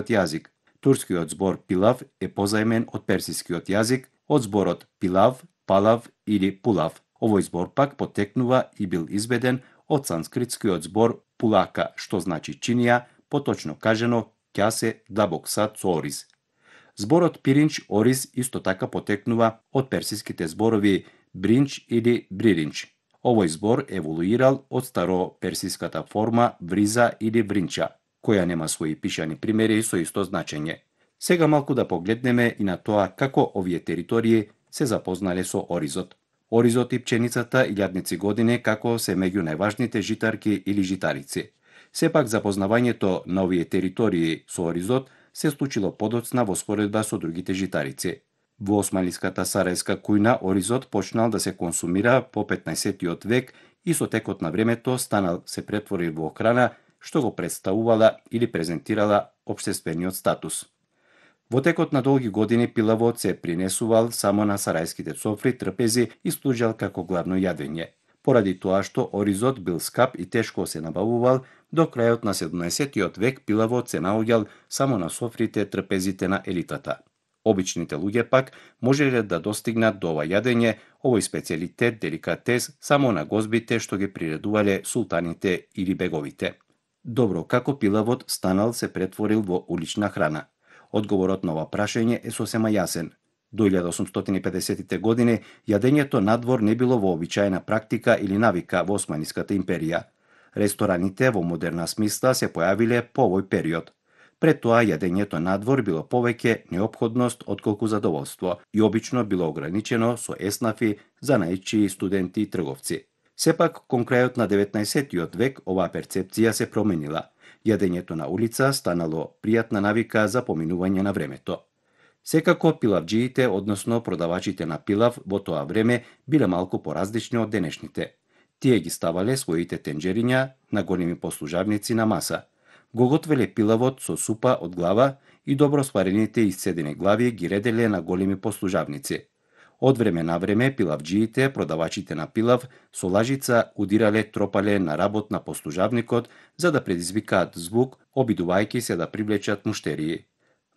јазик. Турскиот збор пилав е позајмен од персискиот јазик од зборот пилав, палав или пулав. Овој збор пак потекнува и бил изведен од санскритскиот збор пулака, што значи чинија, поточно кажано ќасе длабок сад со ориз. Зборот пиринч ориз исто така потекнува од персиските зборови бринч или бриринч. Овој збор еволуирал од староперсиската форма вриза или вринча, која нема своји пишани примери со исто значење. Сега малку да погледнеме и на тоа како овие територии се запознале со оризот. Оризот и пченицата илјадници години како се меѓу најважните житарки или житарици. Сепак запознавањето на овие територии со оризот се случило подоцна во споредба со другите житарици. Во османлиската сарајска кујна оризот почнал да се консумира по 15-тиот век и со текот на времето станал се претворил во храна што го представувала или презентирала општествениот статус. Во текот на долги години пилавот се принесувал само на сарајските софри, трпези и служел како главно јадење. Поради тоа што оризот бил скап и тешко се набавувал, до крајот на 17-тиот век пилавот се наоѓал само на софрите, трпезите на елитата. Обичните луѓе пак можеле да достигнат до ова јадење, овој специјалитет, деликатес, само на гозбите што ги приредувале султаните или беговите. Добро, како пилавот станал се претворил во улична храна? Одговорот на ова прашање е сосема јасен. До 1850-тите години јадењето надвор не било вообичаена практика или навика во Османската империја. Рестораните во модерна смисла се појавиле по овој период. Пред тоа јадењето надвор било повеќе неопходност отколку задоволство и обично било ограничено со еснафи, занаидчии, студенти и трговци. Сепак, кон крајот на 19-тиот век оваа перцепција се променила. Јадењето на улица станало пријатна навика за поминување на времето. Секако пилавџиите, односно продавачите на пилав во тоа време биле малку поразлични од денешните. Тие ги ставале своите тенџериња на големи послужавници на маса. Го готвеле пилавот со супа од глава и добро сварените исцедени глави ги ределе на големи послужавници. Од време на време пилавџиите, продавачите на пилав, со лажица удирале тропале на работ на послужавникот за да предизвикаат звук, обидувајќи се да привлечат муштерии.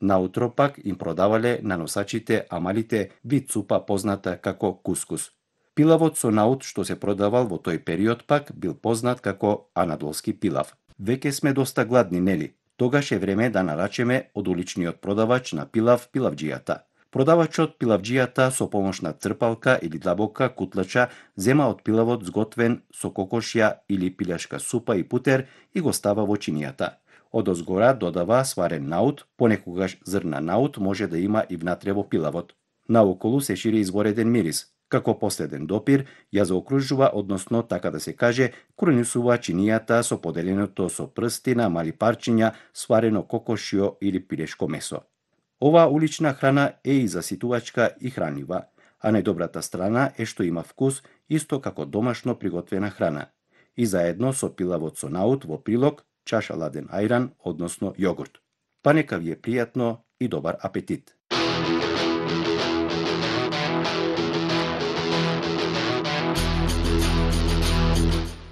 Наутро пак им продавале на носачите амалите вид супа позната како кускус. Пилавот со наут што се продавал во тој период пак бил познат како анадолски пилав. Веќе сме доста гладни, нели? Тогаш е време да нарачеме од уличниот продавач на пилав пилавџијата. Продавачот пилавџијата со помош на трпалка или длабока кутлача зема од пилавот сготвен со кокошја или пилешка супа и путер и го става во чинијата. Одозгора додава сварен наут, понекогаш зрна наут може да има и внатре во пилавот. Наоколу се шири извореден мирис. Како последен допир, ја заокружува, односно, така да се каже, кронисува чинијата со поделеното со прсти на мали парчиња сварено кокошјо или пилешко месо. Оваа улична храна е и заситувачка и хранлива, а најдобрата страна е што има вкус исто како домашно приготвена храна. И заедно со пилавот со наут во прилог, чаша ладен ајран, односно јогурт. Па нека ви е пријатно и добар апетит!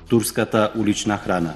Турската улична храна.